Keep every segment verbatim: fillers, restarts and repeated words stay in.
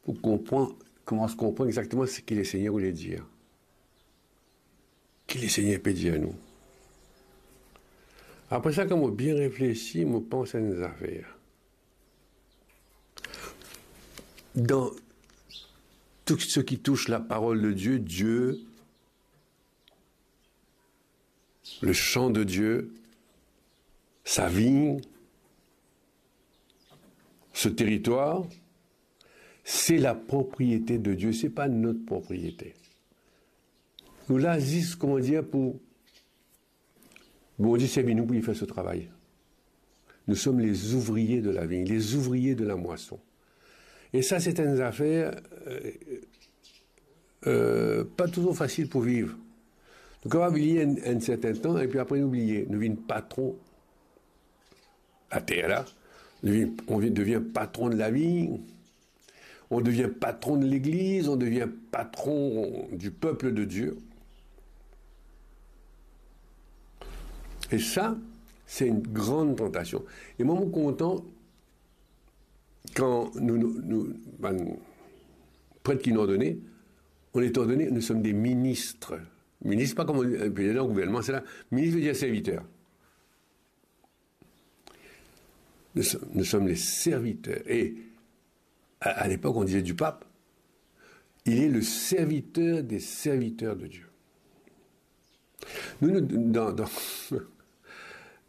pou konpran, koumans konpran exakteman seki Lesegner vouloir dir. Ki Lesegner pe dir nou. Apre sa, kan mo bien reflesi, mo pans enn zafer. Dan tou seki tous laparol de Dieu, Dieu, le champ de Dieu, sa vign, ce territoire, c'est la propriété de Dieu, c'est pas notre propriété. Nou la zis, kouma dir, pou Bondie servi nou pou li fer so travay. Nous sommes les ouvriers de la vigne, les ouvriers de la moisson. E sa, se enn zafer, euh, euh, pa touzour fasil pou viv. Nou kapav li enn, enn sertin tan, epi apre nou bliye, nou vinn patron later la, nou vinn, on vinn, devien patron de la vigne, on devien patron de legliz, on devien patron du peuple de Dieu. E sa, se enn gran tantasion. E mwa, mo kontan kan nou, nou, nou, bann pret ki nou ordone, on est ordonné, nous sommes des ministres. Minis, pa kouma, euh, dan gouvernman, se la, minis ve dir serviter. Nous sommes, nous sommes les serviteurs. Et à, à l'époque, on disait du pape, il est le serviteur des serviteurs de Dieu. Nou, nou, dan, dan,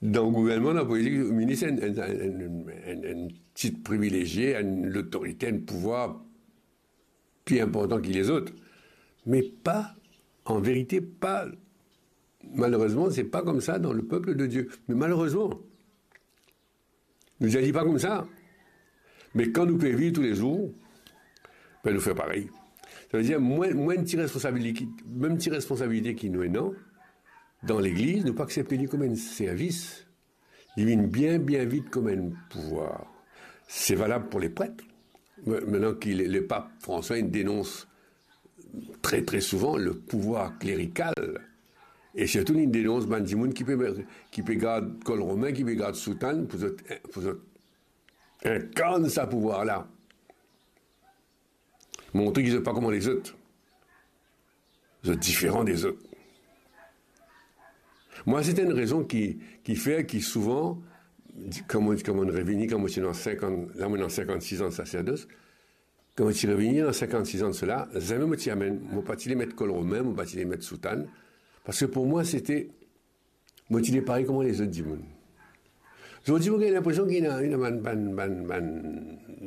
dan gouvernman, dan politik, minis enn, enn, enn tit privilezie, enn lotorite, enn pouvwar pli inportan ki lezot. Me pa, an verite, pa, malerezman, se pa koumsa dan le peuple de Dieu. Me malerezman, nou dir li pa koumsa. Me kan nou pe viv toulezour, be nou fer parey. Savedir, mwa, mwa enn ti responsabilite, mem ti responsabilite ki nou ena dan legliz, nou pa aksepte li kouma enn servis. Li vinn bien, bien vit kouma enn pouvwar. Se valab pou lepret. Me-, mintnan ki le, lepap François, li denons tre, tre souvan le pouvwar klerikal, e sirtou li denons bann dimoun ki pe, ki pe gard kol romin, ki pe gard soutann, pou zot, pou zot inkarn sa pouvwar la. Montre ki zot pa kouma lezot. Zot diferan dezot. Mwa, se enn rezon ki, ki fer ki souvan, kan mo, kan mo revini, kan mo ti ena sinkant, la mo ena sinkant-sis an de saserdos, kan mo ti revini dan sinkant-sis an de sela, zame mo ti amenn, mo pa ti le met kol romin, mo pa ti le met soutann, parski pou mwa, se te, mo ti le parey kouma lezot dimoun. Zordi, mo gagn linpresion ki ena, ena bann, bann, bann, bann,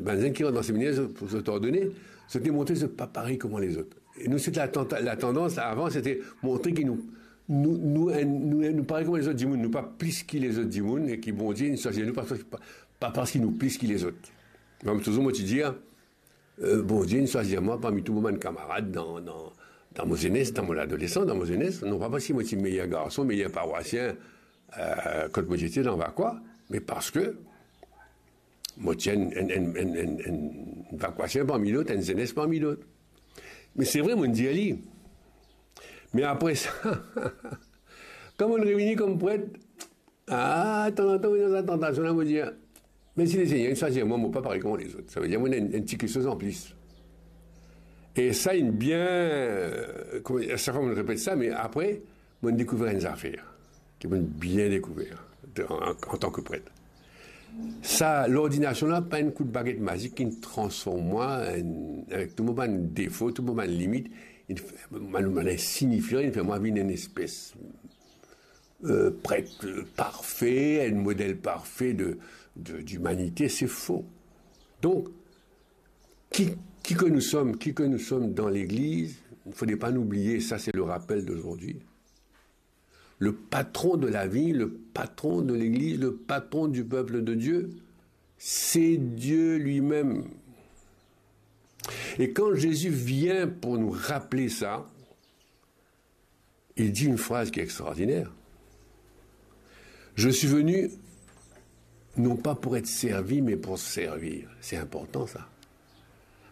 bann zenn ki rant dan seminer, zot, zot ordone, zot demontre zot pa parey kouma lezot. E nou, se la tanta-, latandans avan, se te montre ki nou, nou, nou, nou, nou parey kouma lezot dimoun, nou pa plis ki lezot dimoun, e ki Bondie inn swazir nou pa, pa, pa parski nou plis ki lezot. Mem touzour, mo ti dir, euh, Bondie inn swazir mwa parmi tou mo bann kamarad dan, dan, dan mo zenes, dan mo ladolesan, dan mo zenes, non pa parski mo ti meyer garson, meyer parwasien, euh, kot mo ti ete dan Vakwa, me parski mo ti enn, enn, enn vakwasien parmi dot, enn zenes parmi dot. Me se vre, mo dir li. Me apre sa, kan mo revini kom pret, ah, tanzantan, mo ena sa tantasion la, mo dir, me si Lesegner inn swazir mwa, mo pa parey kouma lezot. Savedir, mo ena enn, enn ti kiksoz anplis. E sa inn bien, euh, kouma, sak fwa mo repet sa, me apre, mo dekouver enn zafer, ki mo bien dekouver, an, an, antan ki pret. Sa, lordinasion la, pa enn kout baget mazik ki transform mwa, enn, avek tou mo bann defo, tou mo bann limit, inn fer, bann, bann insignifian, inn fer mwa vinn enn espes, euh, pret, euh, parfe, enn model parfe de, de, dimanite, se fo. Donk, qui, qui que nous sommes, qui que nous sommes dans l'Église, il ne faudrait pas nous oublier, ça c'est le rappel d'aujourd'hui. Le patron de la vie, le patron de l'Église, le patron du peuple de Dieu, c'est Dieu lui-même. Et quand Jésus vient pour nous rappeler ça, il dit une phrase qui est extraordinaire. Je suis venu non pas pour être servi, mais pour servir. C'est important, ça.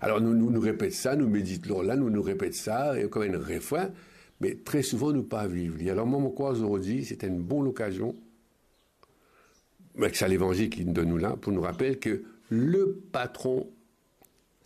Alors, nou, nou, nou repet sa, nou medit lor la, nou, nou repet sa, e kom enn refren, me tre souvan nou pa viv li. Alor, mwa, mo krwar zordi, se enn bon lokazion, avek sa levanzil ki donn nou la, pou nou rapel ke le patron